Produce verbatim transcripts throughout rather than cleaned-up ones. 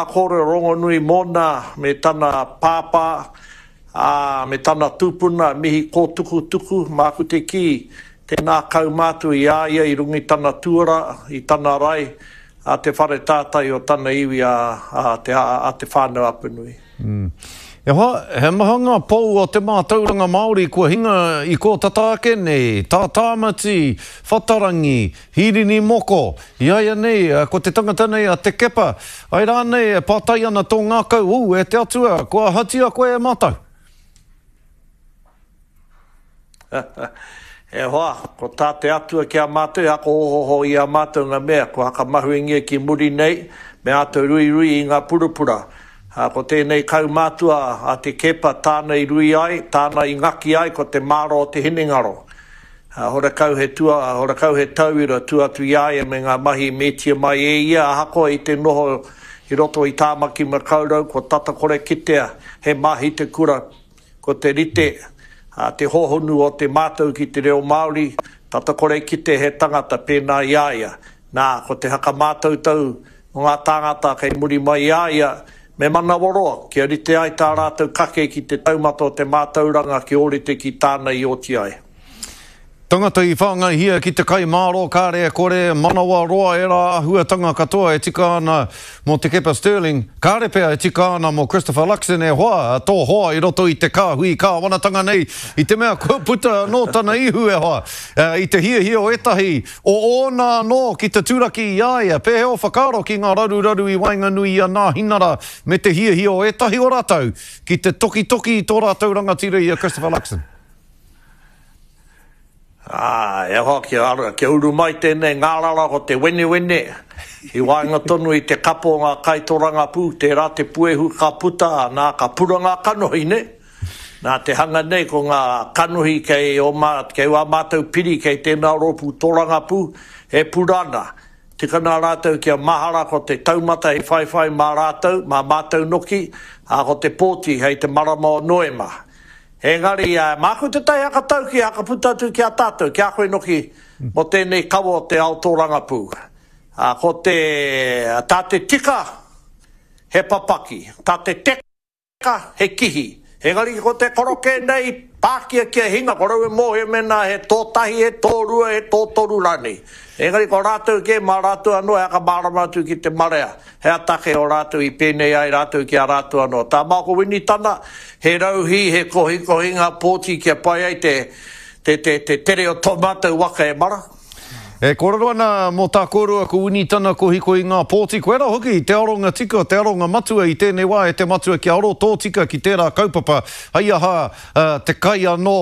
kōrero rongonui mōna me tana pāpā, ā, me tana tupuna, mihi kōtukutuku, māku te kī, tēnā kaumātua i a ia i runga i tana tuara, i tana rae, a te whare tātai o tana iwi a, a, te, a, a Te Whānau Apanui. Mm. E hoa, he maha ngā pou o te mātauranga Māori kua hinga i kō tata ake nei, tā Tāmati, Whatarangi, Hirini Moko, i a ia nei, ko te tangata nei a Te Kepa, ai rānei e pātai ana tō ngākau, ū, e te Atua, kua ahatia koe e mātou? E hoa, ko tā te Atua ki a mātou, e ako ohoho i a mātou ngā mea, kua hakamahuengia ki muri nei, me āta ruirui i ngā purapura. Ā, ko tēnei kaumātua a Te Keepa, tāna i rui ai, tāna i ngaki ai, ko te māro o te hinengaro. Ā, horekau he tua, horekau he tauira tua atu i a ia me ngā mahi i metia mai e ia, ahakoa i te noho i roto i Tāmaki Makaurau, kua tata kore kitea he mahi te kura. Ko te rite, ā, te hōhonu o te mātau ki te reo Māori, tata kore kite he tangata pēnā i a ia. Nā, ko te hakamātautau o ngā tāngata kei muri mai i a ia, me manawaroa, kia rite ai tā rātou kake ki te taumata o te mātauranga kia ōrite ki tāna i oti ai. Tangata i whāngaihia ki te kai māro, kāre e kore, manawa roa ērā āhuatanga katoa e tika ana mō Te Kepa Stirling, kāre pea e tika ana mō Christopher Luxon e hoa, tō hoa i roto i te kāhui kāwanatanga nei, i te mea kua puta anō tana ihu e hoa, i te hiahia o ētahi o ōna anō ki te turaki i a ia. Pēhea ō whakaaro ki ngā raruraru i waenganui i a Nāhinara me te hiahia o ētahi o rātou ki te tokitoki i tō rātou rangatira i a Christopher Luxon? Ā, e hoa, kia, kia uru mai tēnei ngārara ko te wenewene, i waenga tonu i te kapo o ngā kaitorangapū, tērā te puehu ka puta, nā, ka pura ngā kanohi, nē? Nā te hanga nei ko ngā kanohi kei ō mā, kei wā mātou piri kei tēnā rōpū torangapū, e pura ana. Tika nā rātou kia mahara ko te taumata hei whaiwhai mā rātou, mā mātou noki, ā, ko te pōti hei te marama o Noema. Engari, māku tētahi hakatauki e hakaputa atu ki a tātou, ki a koe noki, mō tēnei kawa o te ao tōrangapū. Ā, ko te, tā te tika, he papaki, tā te teka, he kihi. Engari ko te koroke nei, pākia kia hinga, ko rau e mōhio mēnā he tō tahi, he tō rua, he tō toru rānei. Engari ko rātou kē, mā rātou anō e hakamārama atu ki te marea, he atake o rātou i pēnei ai rātou ki a rātou anō. Tā Māko Winitana, he rauhī, he kohikohinga pōti kia pai ai te, te, te, te tere o tō mātou waka e mara. E kōrero ana mō tā kōrua ko Winitana kohikohinga pōti, koirā hoki te aronga tika, te aronga matua i tēnei wā e te matua kia aro tōtika ki tērā kaupapa, hei aha te kai anō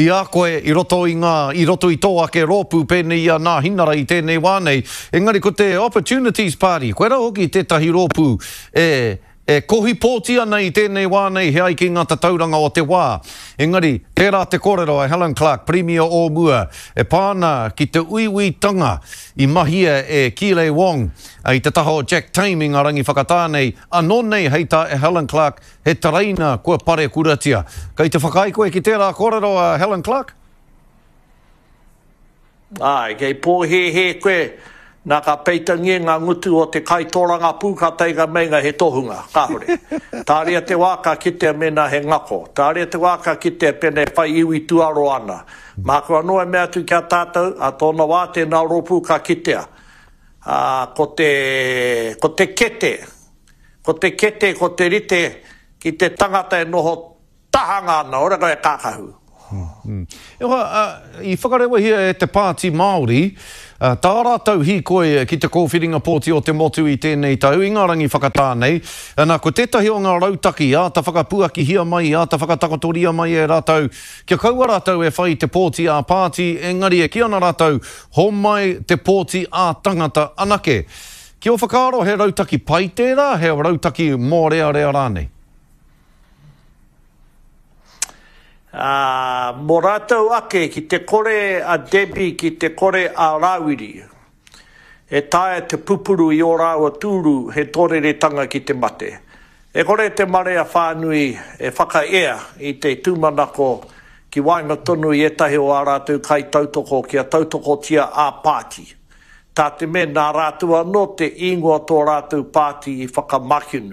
i a koe i roto i ngā, i roto i tō ake rōpū pēnei i a Nāhinara i tēnei wā nei. Engari ko te Opportunities Party, koirā hoki tētahi rōpū e, e kohi pōti ana i tēnei wā nei he ai ki ngā tatauranga o te wā. Engari, tērā te kōrero a Helen Clark, Pirimia o mua, e pā ana ki te uiuitanga i mahia e Keeley Wong i te taha o Jack Tame i ngā rangi whakatā nei, anō nei hei tā Helen Clark, he tereina kua parekuratia. Kei te whakaae koe ki tērā kōrero a Helen Clark? Āe, kei pōhēhē koe, nā ka peitangia ngā ngutu o te kaitōrangapū ka tainga meinga he tohunga. Kāore. Tāria te wā ka kitea mēnā he ngako. Tāria te wā ka kitea pēnā e whai iwi tuaro ana. Māku anō e mea atu ki a tātou, ā tōna wā tēnā rōpū ka kitea. Ā, ko te, ko te kete, ko te kete, ko te rite ki te tangata e noho tahanga ana, ora koe e kākahu. E hoa, i whakarewahia e te Pāti Māori tā rātou hīkoi ki te kōwhiringa pōti o te motu i tēnei tau, i ngā rangi whakatā nei. Nā, ko tētahi o ngā rautaki āta whakapuakihia mai, āta whakatakotoria mai e rātou, kia kaua rātou e whai te pōti ā-pāti, engari e kī ana rātou, homai te pōti ā-tangata anake. Ki ō whakaaro he rautaki pai tērā, he rautaki mōrearea rānei? Ā, mō rātou ake ki te kore a Debbie, ki te kore a Rāwiri, e taea te pupuru i ō rāua tūru he tōreretanga ki te mate. E kore te marea whānui e whakaea i te tūmanako ki waenga tonu i ētahi o ā rātou kaitautoko kia tautokotia ā-pāti. Tā te mea nā rātou anō te ingoa tō rātou pāti i whakamakenu.